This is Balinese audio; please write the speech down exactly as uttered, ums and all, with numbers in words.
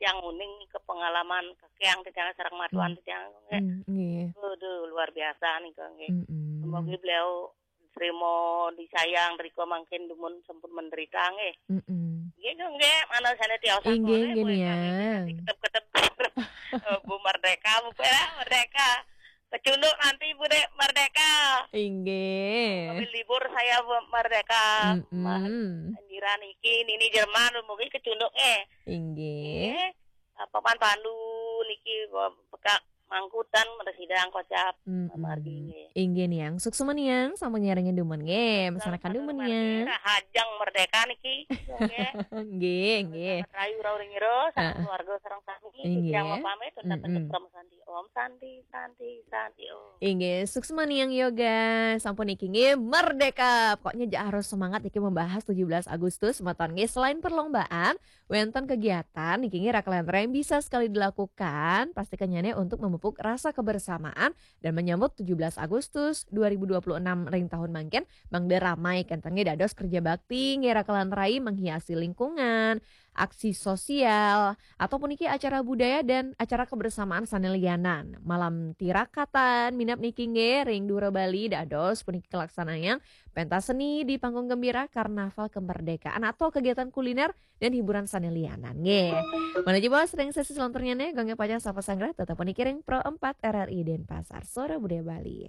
tiang uning ke pengalaman kakeang titiang sareng matuan Hmm. titiang nggih. Hmm, nggih. Aduh, luar biasa nih nggih. Mm-mm. Semoga beliau terima disayang riko mangkin dumun sampun menderita nggih. Mm-mm. Nggih nggih, mana sana tios Inggih, inggih, Niang. Ketep-ketep. Eh, Bu Merdeka, Bu Pera, Merdeka. Kecunduk nanti Bu Dek Merdeka. Inggih. Sambil libur saya Bu Merdeka. Mm-mm. Indira niki, Nini Jerman, mungkin kecunduk eh. Inggih. Eh, Paman Pandu niki, pekak mangkutan, meresidang kocap. Mm-mm. Margi nggih. Inggih, Niang. Suksma, Niang, sampun nyarengin dumun nggih. Masyarakat dumun, Niang. Rahajeng Merdeka niki. Nggih. Nggih, nggih. Selamat rayu rauring ira, sareng Heeh. Keluarga sareng sami. Inggih. Tiang pamit tetep Mm-mm. Om Santi, Om Santi, Santi, Santi, Om. Inggih, suksma, Niang, yoga. Sampun niki nggih merdeka. Pokoknya ja harus semangat niki membahas tujuh belas Agustus, semeton nggih. Selain perlombaan, wenten kegiatan niki nggih, Raka lan Rai, yang bisa sekali dilakukan, pastikannya nih untuk memupuk rasa kebersamaan dan menyambut tujuh belas Agustus dua ribu dua puluh enam ring tahun mangkin, mangda ramai kenten nggih dados kerja bakti nggih, Raka lan Rai, menghiasi lingkungan, aksi sosial, ataupun niki acara budaya dan acara kebersamaan sane lianan. Malam tirakatan minab niki nggih ring Dura Bali dados puniki kalaksanayang pentas seni di panggung gembira Karnaval Kemerdekaan atau kegiatan kuliner dan hiburan sane lianan nggih. Menuju bos ring sesi selanturnya nih, gangge pacang sapa sanggra, tetap puniki ring Pro empat R R I Denpasar, Suara Budaya Bali.